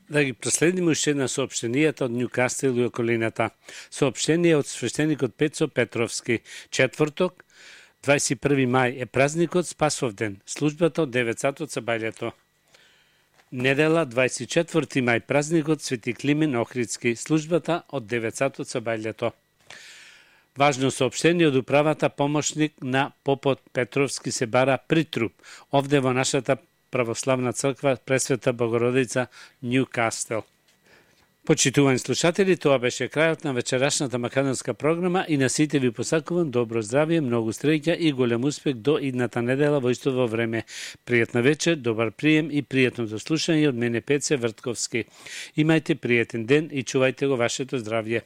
Да ги проследиме уште една соопштенијата од Њукастел и околината. Соопштение од свештеникот Пецо Петровски. Четврток, 21 мај е празникот Спасовден. Службата од 9 сат од сабајлето. Недела, 24 мај, празникот Свети Климен Охридски. Службата од 9 сат од сабајлето. Важно соопштение од управата помошник на попот Петровски се бара притруп. Овде во нашата православна црква Пресвета Богородица Њукастел. Почитувани слушатели, тоа беше крајот на вечерашната македонска програма и на сите ви посакувам добро здравје, многу среќа и голем успех до идната недела во истово време. Пријатна вечер, добар прием и пријатно дослушање од мене Пеце Вртковски. Имајте пријатен ден и чувајте го вашето здравје.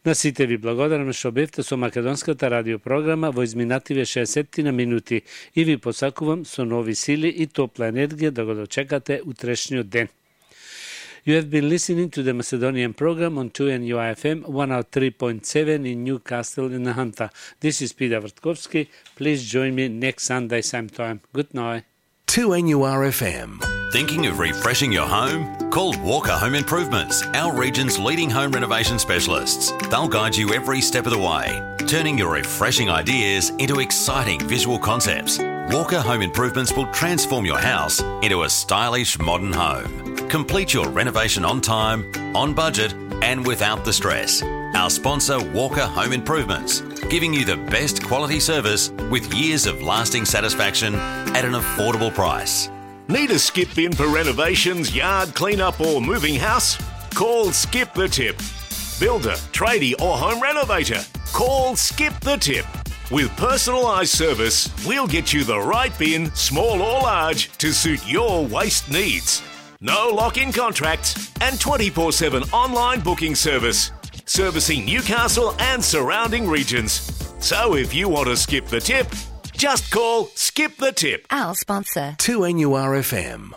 На сите ви благодарам што бевте со македонската радиопрограма во изминативе 60 на минути и ви посакувам со нови сили и топла енергија да го дочекате утрешниот ден. You have been listening to the Macedonian program on 2NUIFM 103.7 in Newcastle in the Hunter. This is Peter Vrtkovski. Please join me next Sunday same time. Good night. 2NURFM. Thinking of refreshing your home? Call Walker Home Improvements, our region's leading home renovation specialists. They'll guide you every step of the way, turning your refreshing ideas into exciting visual concepts. Walker Home Improvements will transform your house into a stylish modern home. Complete your renovation on time, on budget, and without the stress. Our sponsor, Walker Home Improvements, giving you the best quality service with years of lasting satisfaction at an affordable price. Need a skip in for renovations, yard cleanup or moving house? Call Skip the Tip. Builder, tradie or home renovator? Call Skip the Tip. With personalised service, we'll get you the right bin, small or large, to suit your waste needs. No lock-in contracts and 24/7 online booking service. Servicing Newcastle and surrounding regions. So if you want to skip the tip, just call Skip the Tip. Our sponsor. 2NURFM.